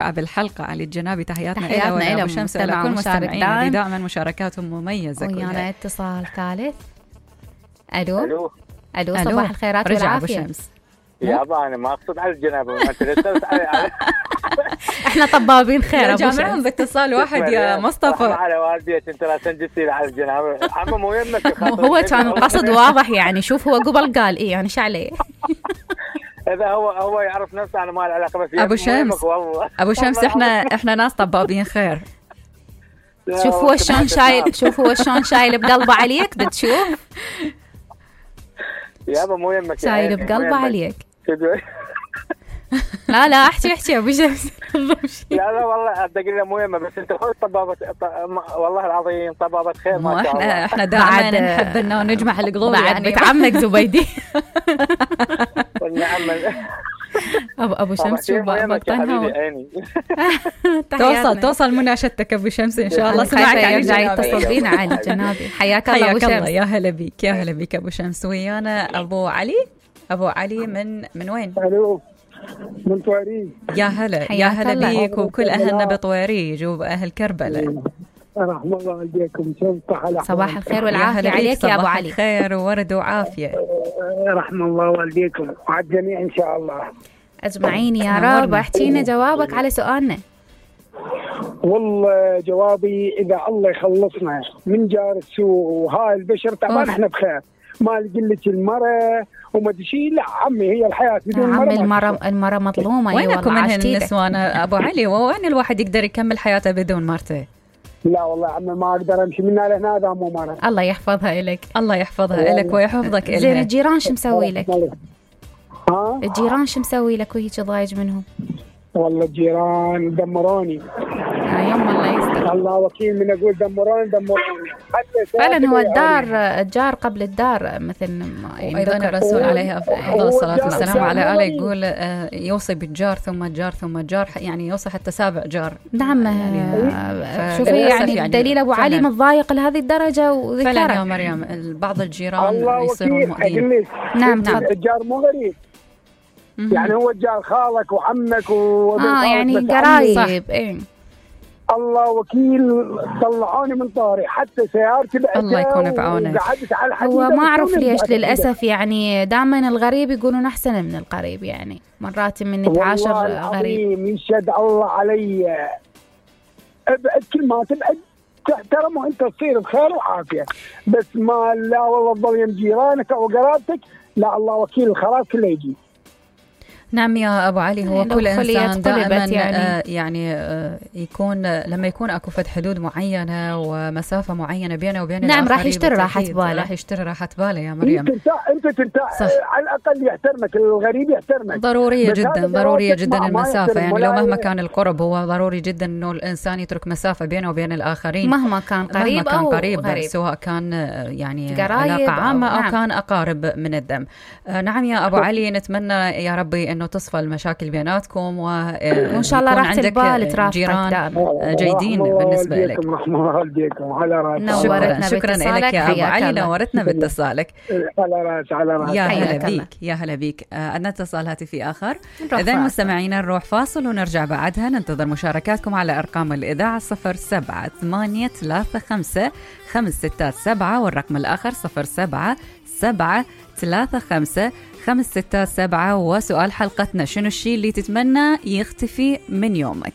الاستمتاع بالحلقة. علي الجنابي تحياتنا إلى أبو شمس وإلى كل مستمعين اللي دائما مشاركاتهم مميزة. ويانا اتصال ثالث. ألو صباح الخيرات والعافية. يابا أنا ما أقصد على الجنابة، ما ترسلت على إحنا طبابين خير. جامعهم باتصال واحد يا مصطفى. على والديك أنت لا تنجسي على الجنابة. عمو مو يمك. هو كان القصد واضح يعني. شوف هو قبل قال إيه يعني شو عليه. إذا هو يعرف نفسه أنا ما له علاقة. بس أبو شمس إحنا ناس طبابين خير. شوف هو شلون شايل بقلبه عليك. بتشوف يابا مو يمك شايل بقلبه عليك. لا احكي ابو شمس. لا والله ادق مو يمه. بس انت خذ طبابه والله العظيم طبابه خير ما شاء الله. احنا دائما نحب انه نجمع القلوب يعني. بتعمك زبيدي. والنعم. ابو شمس شو بطنها. توصل مناشدتك ابو شمس ان شاء الله. سمعك يرجع يتصل بينا علي الجنابي. حياك الله ابو شمس. يا هلا بيك ابو شمس. ويانا ابو علي من وين؟ الو من طويريج. يا هلا بيك وكل اهلنا بطويريج واهل كربلاء. رحم الله والديكم. صباح الخير والعافيه عليك يا ابو علي. خير وورد وعافيه. رحم الله والديكم وعلى الجميع ان شاء الله اجمعين يا رب. احكينا جوابك على سؤالنا. والله جوابي اذا الله يخلصنا من جار السوء وهاي البشر طبعا احنا بخير. ما لك المرأة وما تشيل. لا عمي هي الحياة بدون المرأة مظلومة. وينكم من هالنسوان أبو علي؟ وين الواحد يقدر يكمل حياته بدون مرته؟ لا والله عمي ما أقدر أمشي من هنا. هذا مو مرة. الله يحفظها إلك. الله يحفظها إلك ويحفظك إلها. زين الجيران شو مسوي لك؟ الجيران شو مسوي لك وهيك ضايج منهم؟ والله الجيران دمروني. يوم الله يستر. الله وكيل من أقول دمروني. فعلا هو الجار قبل الدار مثل أيضا الرسول عليه أفضل الصلاة والسلام على آله يقول يوصي بالجار ثم الجار ثم الجار. يعني يوصي حتى 7 جار. نعم شوفي يعني الدليل أبو علي متضايق لهذه الدرجة وذكرك. فعلا يا مريم بعض الجيران يصيرون مؤذين. نعم الجار مو غريب يعني هو الجار خالك وعمك يعني قرايب. ايه الله وكيل. طلعوني من طاري حتى سيارتي بعتها. الله يكون بعونه. هو ما أعرف ليش للأسف يعني دائما الغريب يقولون أحسن من القريب. يعني مرات من نتعاشر غريب. يشهد الله علي. ابعد كل ما تبعد تحترم وانت تصير بخير وعافية. بس ما لا والله تضل يم جيرانك أو قرابتك. لا الله وكيل الخراب كله يجي. نعم يا أبو علي. هو كل إنسان دائما يعني يكون لما يكون أكو فد حدود معينة ومسافة معينة بينه وبين نعم راح يشتري راحة باله يا مريم. أنت على الأقل يحترمك. الغريب يحترمك. ضرورية جدا المسافة. يعني لو مهما كان القرب هو ضروري جدا إنه الإنسان يترك مسافة بينه وبين الآخرين مهما كان قريب أو غريب. سواء كان يعني علاقة عامة أو كان أقارب من الدم. نعم يا أبو علي نتمنى يا ربي إنه تصفى المشاكل بيناتكم وإن شاء الله راح عندك جيران جيدين بالنسبة لك. شكرا لك يا أبو علي. نورتنا باتصالك. يا هلا بيك. عندنا اتصال هاتفي آخر. إذا مستمعينا نروح فاصل ونرجع بعدها. ننتظر مشاركاتكم على أرقام الإذاعة 07-835-567 والرقم الآخر 07-735-567. وسؤال حلقتنا شنو الشيء اللي تتمنى يختفي من يومك؟